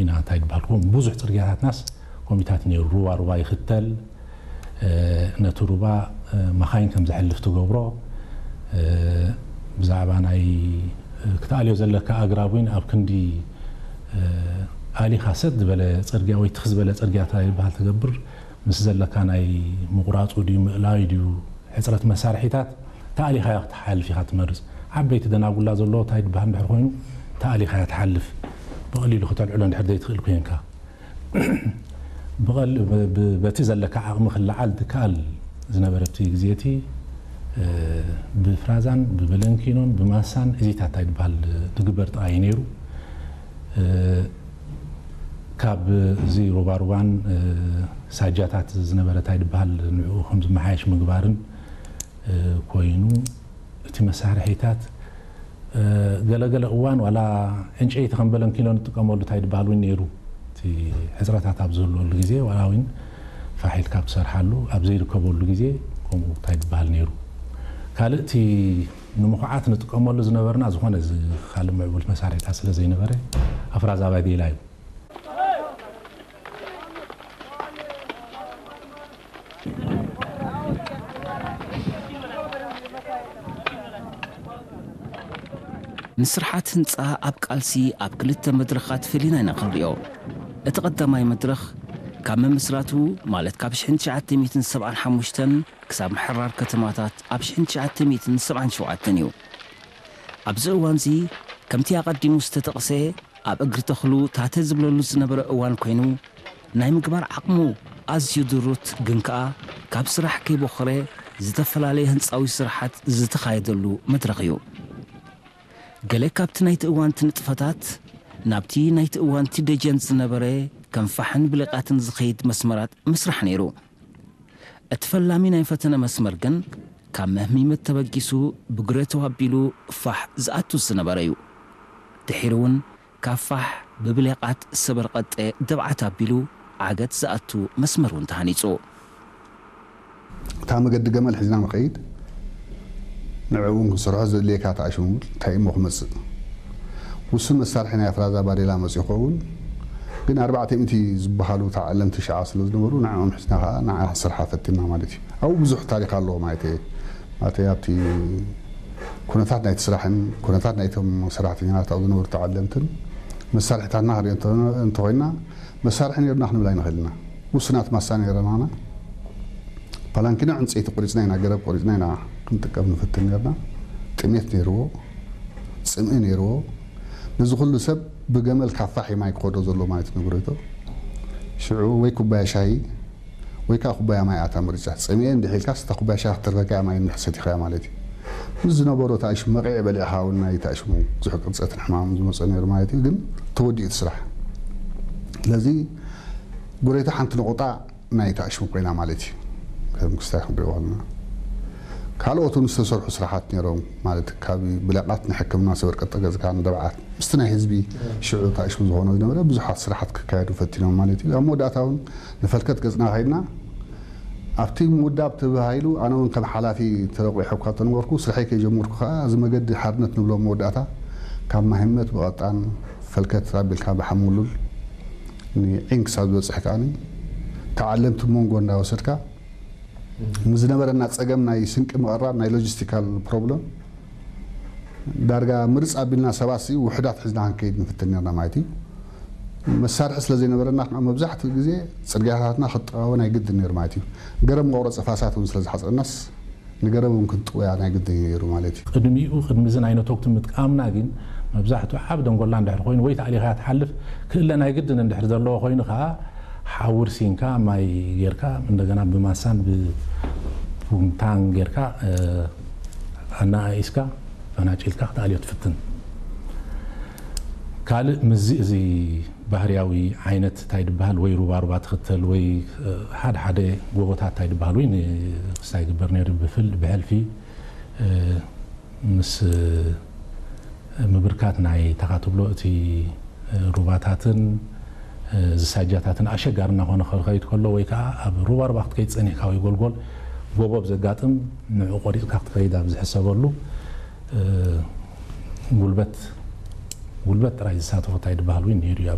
ኢና እንታይ ዝበሃል፣ ከምኡ ብዙሕ ጽርግያታትናስ ኮሚታት ነይሩ። ሩባ ሩባ ይኽተል፣ እ፣ ነቲ ሩባ፣ እ፣ መኻይን ከም ዝሕልፍ ትገብሮ፣ እ፣ ብዛዕባ ናይ፣ እ፣ ክትኣልዮ ዘለካ ኣግራብ እውን ኣብ ክንዲ፣ እ፣ ኣሊኻ ሰጥ ዝበለ ጽርግያ ወይ ትኽ ዝበለ ጽርግያ እንታይ ይበሃል ትገብር፣ ምስ ዘለካ ናይ ምቑራጹ ድዩ ምእላዩ ድዩ ሕጽረት መሳርሒታት ተኣሊኻዮ ክትሓልፍ ኢኻ ትመርጽ። ዓበይቲ ደናጉላ ዘለዎ እንታይ ዝበሃል እንድሕር ኮይኑ ተኣሊኻዮ ትሓልፍ። ብቐሊሉ ክተልዕሎ እንድሕር ዘይትኽእል ኮይንካ። ብቐል-፣ ብ-፣ ብ-፣ በቲ ዘለካ ዓቕሚ ክለዓል ትከኣል ዝነበረ እቲ ግዜ እቲ፣ እ፣ ብፍራዛን ብበለንኪኖን ብማሳን እዚታት እንታይ ዝበሃል ዝግበር ጥራይ እዩ ነይሩ። እ፣ ካብ እዚ ሩባሩባን፣ እ፣ ሳጃታት ዝነበረ እንታይ ዝበሃል ንዕኡ ከም ዝመሓየሽ ምግባርን፣ እ፣ ኮይኑ እቲ መሳርሒታት፣ እ፣ ገለገለ እዋን ዋላ ዕንጨይቲ ከም በለንኪኖ ንጥቀመሉ እንታይ ዝበሃል እውን ነይሩ። እቲ ሕጽረታት ኣብ ዝህልወሉ ግዜ ዋላ እውን ፋሕ ኢልካ ኣብ ትሰርሓሉ ኣብ ዘይርከበሉ ግዜ ከምኡ እንታይ ዝበሃል ነይሩ። ካልእ እቲ ንምኹዓት ንጥቀመሉ ዝነበርና ዝኾነ እዚ ካልእ ምዕቡል መሳርሒታት ስለ ዘይነበረ ኣፍራዛ ባዴላ እዩ። ንስርሓት ህንጻ ኣብ ቃልሲ ኣብ ክልተ መድረኻት ፈሊና ኢና ክንሪኦ። እቲ ቀዳማይ መድረኽ ካብ ምምስራቱ ማለት ካብ ሽሕን ትሽዓተ ሚእትን ሰብዓን ሓሙሽተን ክሳብ ምሕራር ከተማታት ኣብ ሽሕን ትሽዓተ ሚእትን ሰብዓን ሸውዓተን እዩ። ኣብዚ እዋንዚ ከምቲ ኣቐዲሙ ዝተጠቕሰ ኣብ እግሪ ተኽሉ ታተ ዝብለሉ ዝነበረ እዋን ኮይኑ ናይ ምግባር ዓቕሙ ኣዝዩ ድሩት ግን ከኣ ካብ ስራሕ ከይቦኸረ ዝተፈላለየ ህንጻዊ ስራሓት ዝተኻየደሉ መድረኽ እዩ። ገለ ካብቲ ናይቲ እዋንቲ ንጥፈታት ናብቲ ናይቲ እዋንቲ ደጀን ዝነበረ ከም ፋሕን ብሌቓትን ዝኸይድ መስመራት ምስራሕ ነይሩ። እቲ ፈላሚ ናይ ፈተነ መስመር ግን ካብ መህሚመት ተበጊሱ ብግረቶ ኣቢሉ ፋሕ ዝኣቱ ዝነበረ እዩ። ድሒሩ እውን ካብ ፋሕ ብብሌቓት ሰበርቐጠ ደብዓት ኣቢሉ ዓገት ዝኣቱ መስመር እውን ተሃኒጹ። እታ መገዲ ገመል ሒዝና ንኸይድ ንዕኡ እውን ክንሰርሖ ዘድልየካ ተኣሽሙ እንታይ እሞ ክመፅእ ውሱን መሳርሒ ናይ ኣፍራዛ ባዴላ መፅኡ ይኸውን። ግን ኣርባዕተ ሚእቲ ዝበሃሉ ተዓለምቲ ሽዓ ስለ ዝነበሩ ንዕኦም ሒዝና ከዓ ንዓ ክንሰርሓ ፈቲና ማለት እዩ። ኣብኡ ብዙሕ ታሪክ ኣለዎ ማለት እየ። ማለት ኣብቲ ኩነታት ናይቲ ስራሕን ኩነታት ናይቶም ሰራሕተኛታት ኣብኡ ዝነበሩ ተዓለምትን መሳርሒታትና ክንሪኦ እንተ- እንተኾይና መሳርሒ ነይሩና ክንብል ኣይንኽእልና። ውሱናት ማሳ ነይረናና። ፓላንኪኖ ዕንፀይቲ ቆሪፅና ኢና፣ ገረብ ቆሪፅና ኢና ክንጥቀም ንፍትን ነርና። ጥሜት ነይርዎ፣ ፅምኢ ነይርዎ። ነዚ ኩሉ ሰብ ብገመል ካብ ፋሕ ማይ ክኸዶ ዘሎ ማለት ንግረቶ ሽዑ ወይ ኩባያ ሻሂ ወይ ከዓ ኩባያ ማይ ኣታ ምርጫ። ፀሚኤ እንድሕ ኢልካስ እታ ኩባያ ሻሂ ክትረከካ እያ ማይ እንድሕ ሰቲኻያ ማለት እዩ። ምስ ዝነበሮ ተኣሽሙ መቂዒ በሊዕኻ እውን ናይ ተኣሽሙ ብዙሕ ቅርፀትን ሕማምን ዝመፀ ነይሩ ማለት እዩ። ግን ተወዲኡ እቲ ስራሕ። ስለዚ ጉረይቶ ሓንቲ ነቑጣ ናይ ተኣሽሙ ኮይና ማለት እዩ። ከም ክስታይ ክንሪኦ ከለና ካልኦት እውን ዝተሰርሑ ስራሓት ነይሮም ማለት ካብ ብለቃት ንሕክምና ሰበር ቀጠ ገዝካ ንደብዓት ምስቲ ናይ ህዝቢ ሽዑ ተኣሽሙ ዝኾነ ዝነበረ ብዙሓት ስራሓት ክካየዱ ፈቲኖም ማለት እዩ። ኣብ መወዳእታ እውን ንፈልከት ገፅና ከይድና ኣብቲ ምውዳብ ተባሂሉ ኣነ እውን ከም ሓላፊ ተረቑ ሕኳ ተነበርኩ ስርሐይ ከይጀመርኩ ከዓ እዚ መገዲ ሓርነት ንብሎ መወዳእታ ካብ ማህመት ብቐጣን ፈልከት ኣቢልካ ብሓሙሉል ንዒን ክሳብ ዝበፅሕ ከዓኒ ተዓለምቲ መንጎ እንዳወሰድካ ምስ ዝነበረና ፀገም ናይ ስንቂ ምቕራብ ናይ ሎጂስቲካል ፕሮብለም ዳርጋ ምርፅ ኣቢልና ሰባት ሲ ውሕዳት ሒዝና ክንከይድ ንፍትን ነርና ማለት እዩ። መሳርሒ ስለ ዘይነበረና ከዓ መብዛሕትኡ ግዜ ፅርግያታትና ክጠዋወ ናይ ግድን ነይሩ ማለት እዩ። ገረብ መቑረፂ ፋሳት እውን ስለ ዝሓፀረናስ ንገረብ እውን ክንጥውያ ናይ ግድን ነይሩ ማለት እዩ። ቅድሚኡ ቅድሚ እዚ ናይ ነቶግቲ ምጥቃምና ግን መብዛሕትኡ ዓብ ደንጎላ እንድሕር ኮይኑ ወይ ተኣሊኻ ትሓልፍ ክእለ ናይ ግድን እንድሕር ዘለዎ ኮይኑ ከዓ ሓዊ ርሲንካ ማይ ጌርካ እንደገና ብማሳን ብፑምታን ጌርካ ኣናኣኢስካ ፈናጭልካ ክትኣልዮ ትፍትን። ካልእ ምዚ እዚ ባህርያዊ ዓይነት እንታይ ድበሃል ወይ ሩባ ሩባ ትኽተል ወይ ሓደ ሓደ ጎቦታት እንታይ ድበሃል ወይ ንክስታይ ግበር ነይሩ ብፍል ብሕልፊ ምስ ምብርካት ናይ ተኻ ትብሎ እቲ ሩባታትን ዝሳጃታትን ኣሸጋሪ እናኾነ ክኸይድ ከሎ ወይ ከዓ ኣብ ሩባ ሩባ ክትከይድ ፀኒሕካ ወይ ጎልጎል ጎቦ ብዘጋጥም ንዑ ቆሪፅካ ክትከይድ ኣብ ዝሕሰበሉ ጉልበት ጉልበት ጥራይ ዝሳተፎ እንታይ ድበሃል እውን ነይሩ እዩ ኣብ